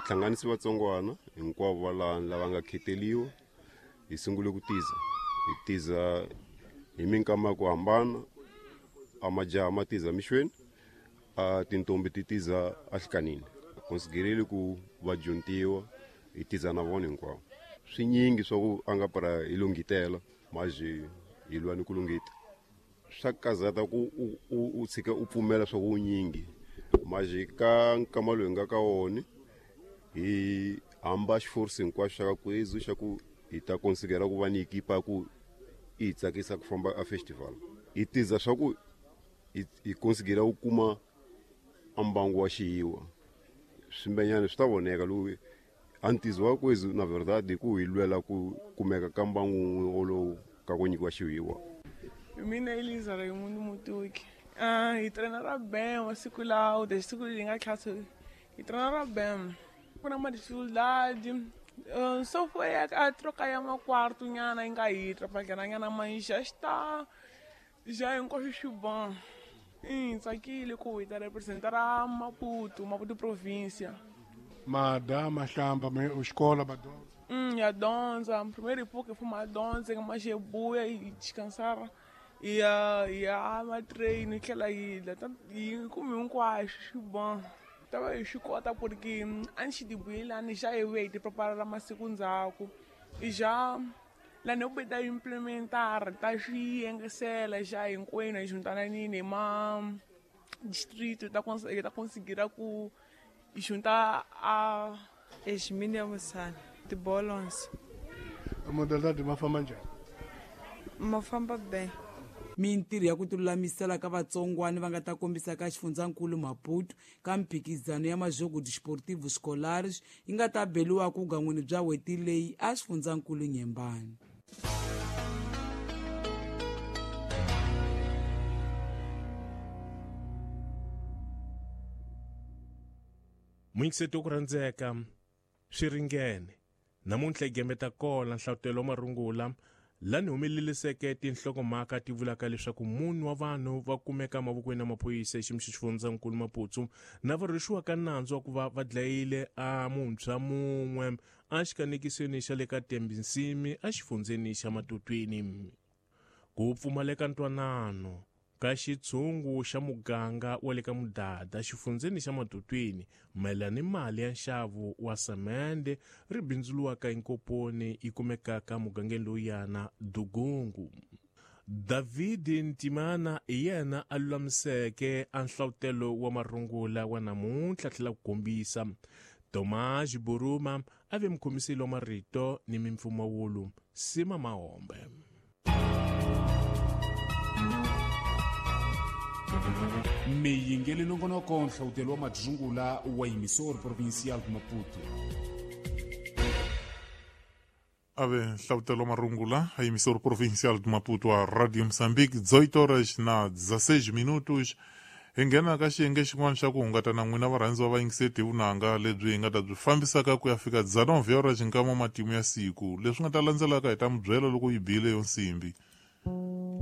hlanganise vatsongwana hinkwavo va laha lava nga kheteliwa hi sungule ku tiza hi tiza hi minkama ya ku hambana a majaha ma tiza mixweni a tintombi ti tiza ahlikanini konsidereli ku va dyontiwa hi tiza na vona hinkwavo swinyingi swa ku a nga para hi lunghitela maje hi lwa ni ku lunghita swa kazata ku u tshika u pfumela swa ku unyingi maje ka nkama lowu hi nga ka wona hi hamba xiforce hinkwaxo xa ka kwezu xa ku hi ta konsidera ku va ni ekipa ku i hi tsakisa ku famba a festival hi tiza swa ku hi konsidera ku kuma a mbangu wa xiyiwa swimbenyana swi ta voneka lowu a ntizo wa kwezu na verdade ku hi lwela ku kumeka ka mbangu wun'we wolowu ka ku nyikiwa xihiwa. Mina Eliza Raimundo Mutuki. Hi trainera bem masiku lawa de siku hi nga tlhasi hi trainera bem ku na ma-dificuldade so foi a troca ya makwarto nyana yi nga hi trapalhana nyana mas já está já hinkwaswo swi bon hi tsakile ku hi ta representara Maputo Maputo província ma dya ma hlamba ma xikolo va dyondza. Ya dyondza primeiro época foi ma dyondza ma xebuya hi descansar ya ya ma train hi tlhela hi dla hi kume hinkwaswo swi bon ta va hi swi kota porque a ni xi tibuyelani xa hi vuya hi ti preparela masiku ndzhaku já lani hi ta implementar ta swi yengesela xa hinkwenu hi juntananini hi ma distrito ta ta conseguir ku hi junta a Eximini ya Musana tibolons modalidade ma famba njhani? Ma famba be. Mintirho ya ku tilulamisela ka vatsongwani va nga ta kombisa ka xifundzankulu Maputo ka mphikizano ya Majogo Desportivo Escolares yi nga ta beliwa ku gan'wini bya n'hweti leyi a xifundzankulu Nyembani. Muyingiseti wa ku rhandzeka swi ringene namuntlha hi gembeta kola nhlavutelo wa marungula lani humeleliseke tinhlokomhaka ti vulaka leswaku munhu wa vanhu va kumeka mavokweni ya maphorisa eximi xa xifundzankulu Maputo na va rhwexiwaka nandzu wa ku va va dlayile a muntshwa mun'we a xikanekisweni xa le ka Tembinsimi exifundzeni xa Matutwini. Ku pfumaleka ntwanano ka xitshungu xa muganga wa le ka Mudada xifundzeni xa Matutwini mayelana ni mali ya nxavo wa semende ri bindzuriwaka enkoponi yi kumekaka mugangeni lowuyana Dugungu. David Ntimana hi yena a lulamiseke a nhlavutelo wa marungula wa namuntlha tlhela ku kombisa. Tomasz Buruma a ve mukhomiseli wa marito ni mimpfumawulo Sima Mahombe. Mi yingele nongonoko nhlawutelo wa madzungula wa emissor provincial de Maputo. Ave nhlawutelo marungula a emissor provincial de Maputo a Radio Moçambique 18 horas na 16 minutos. Hi nghena ka xiyenge xin'wana xa ku hungata na n'wina varhandziwa va yingiseti hi vunanga lebyi hi nga ta byi fambisaka ku ya fika 19 horas nkama matimu ya siku. Leswi nga ta landzelaka hi ta mi byela loko yi bile yo nsimbi.